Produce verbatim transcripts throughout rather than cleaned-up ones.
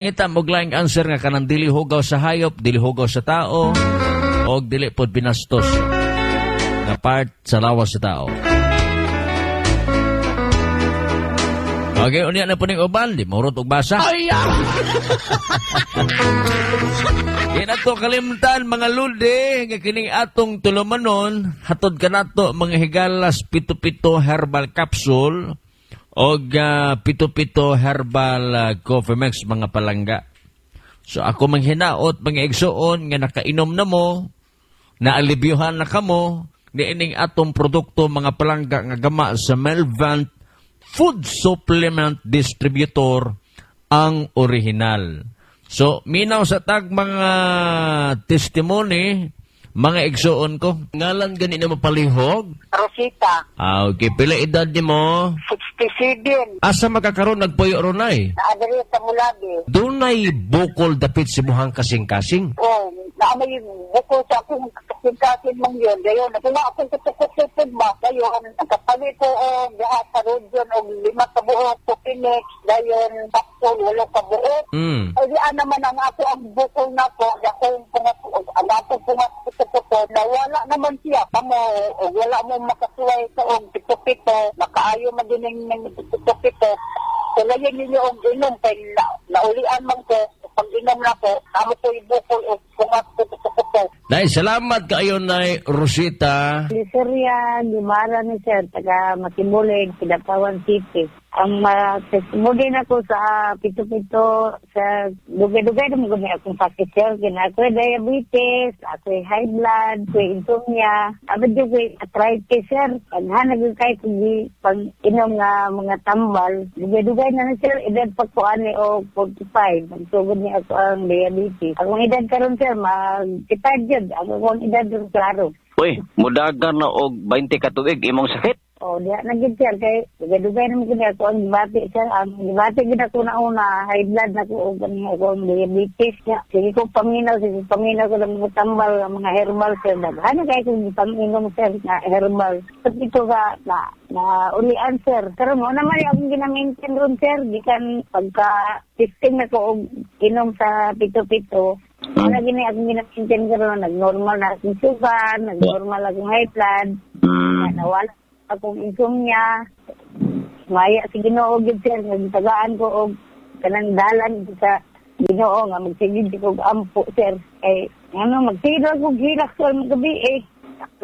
Ngita mo laing answer nga kanang dili hugaw sa hayop, dili hugaw sa tao, o dili pod binastos nga part sa lawas sa tao. Okay, unya na po ning uban, di murot og basa. Ay, ah! Di na to kalimtan mga ludi nga kining atong tulumanon, hatod kanato mga higalas pito-pito herbal capsule og uh, pito-pito herbal uh, coffee mix mga palangga. So ako manghinaot mga igsuon nga nakainom na mo, naalibyuhan na kamo niining atong produkto mga palangga nga gama sa Melvant Food Supplement Distributor ang original. So, minaw sa tag mga testimony, mga igsuon ko. Ngalan gani na mapalihog? Rosita, Ah, okay. Pila edad ni mo? sixty-seven. Asa makakaroon nagpuyo ronay? Naadari sa Mulabi. Dunay bukol dapit si muhang kasing-kasing. Oh, naamay bukol sa akong kasing-kasing mong yun. Gayon, kung akong kutukot-tukot ba, gayon, nagkapalit ko o gaha sa rodyon o lima ka buok, Pupinex, gayon, kapsul, walo ka buok. Mm. Ay, di naman ang ako ang bukol na ko, akong pungat, ang akong pungat kutukot, nawala naman siya. Kamo, o wala mo makasuway sa og pito-pito, makaayo man din ng pito-pito. Sulayin ninyo og inom kay na, naulian man ko, pag inom na ko, amo ko ibukol o pungat kutukot. Nay, salamat kaayo nay Rosita. Liseria Gumara ni sir, taga Matibulig, Kidapawan City. Ang uh, testimony na ko sa pito-pito, sa dugay-dugay naman gani akong sakit sir. Kina ako'y diabetes, ako'y high blood, ako'y insomnia, abad yung ako'y arthritis sir. Paghanag ko kay kung pag inom nga mga tambal, dugay-dugay na na sir, edad pa ko ani o forty-five, magsugod niya ako ang diabetes. Akong edad karon sir, mag-retired yun. Ako akong edad ron klaro. Uy, mudagan na og twenty ka tuig imong sakit. Oh, diha na gid sir kay dugay-dugay naman gid ako ang gibati sir. Ang gibati gid ako na una, high blood na ko og kaning ako ang diabetes niya. Sige ko paminaw, sige paminaw ko ng mga tambal, ang mga herbal sir. Daghan na kay kong gipanginom sir na herbal. But ito ka na na ulian sir. Pero mo naman akong gina-maintain ron sir gikan pagka fifteen na ko og inom sa pito-pito. Hmm. Wala gini akong gina-maintain karon, nag-normal na akong sugar, nag-normal akong high blood. Mm. Nawala akong insomnia. Maya si Ginoo gid sir, nagtagaan ko og kanang dalan sa Ginoo nga magsigid ko og ampo sir. Kay ano magsigid ako og hilak sir magabi eh.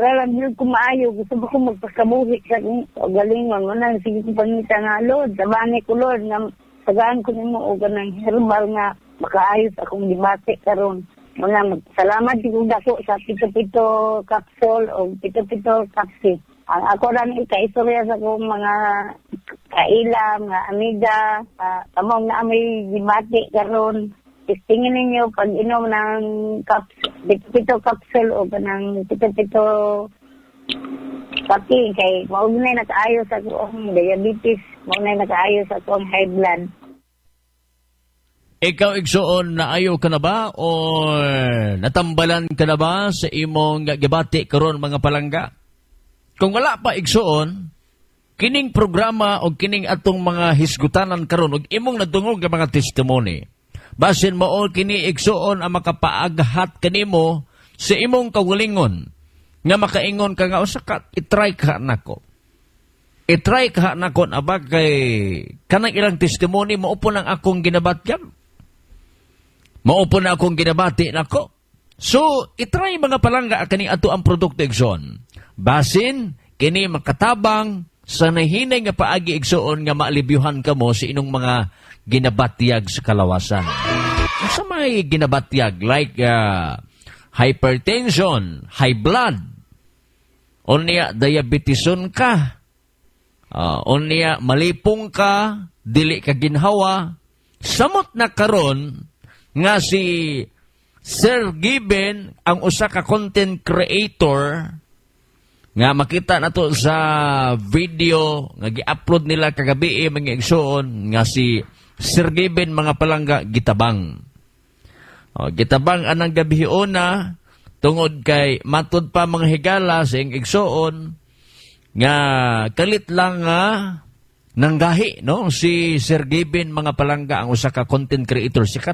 Wala lang ko maayo, gusto ba ko magpakabuhi sa akong galingon. Wala sige ko pangita nga Lord, tabani ko Lord nga tagaan ko nimo og kanang herbal nga makaayos akong gibati karon. Wala magsalamat ko dako sa pito-pito capsule o pito-pito capsule. Ang ako lang ikaistorya sa akong mga kaila, mga amiga, uh, kamong na may gibati karon. Testingin ninyo pag inom ng caps, pito-pito capsule o kanang pito-pito kape kay mao na nakaayos sa akong diabetes, mao na nakaayos sa akong high blood. Ikaw, igsuon, naayo ka na ba o natambalan ka na ba sa imong gibati karon mga palangga? Kung wala pa, igsuon, kining programa o kining atong mga hisgutanan karon og imong nadungog nga mga testimony, basin mao kini igsuon ang makapaaghat kanimo sa imong kaugalingon nga makaingon ka nga usa ka i-try ka nako. I-try ka nako aba kay kanang ilang testimony mao po nang akong ginabatyan. Mao po na akong ginabati nako. So, i-try mga palangga kani ato ang produkto igsoon. Basin, kini makatabang sa nahinay nga paagi igsoon nga maalibyuhan kamo sa inyong mga ginabatyag sa kalawasan. Sa may ginabatyag like uh, hypertension, high blood, unya diabeteson ka, uh, unya malipong ka, dili ka ginhawa, samot na karon nga si Sir Given ang usa ka content creator nga makita nato sa video nga gi-upload nila kagabi eh, mga igsoon nga si Sir Given mga palangga gitabang. O, gitabang anang gabi una tungod kay matud pa mga higala sa iyang igsoon nga kalit lang nga Nanggahi, no, si Sir Gavin, mga palangga, ang usa ka content creator sikat.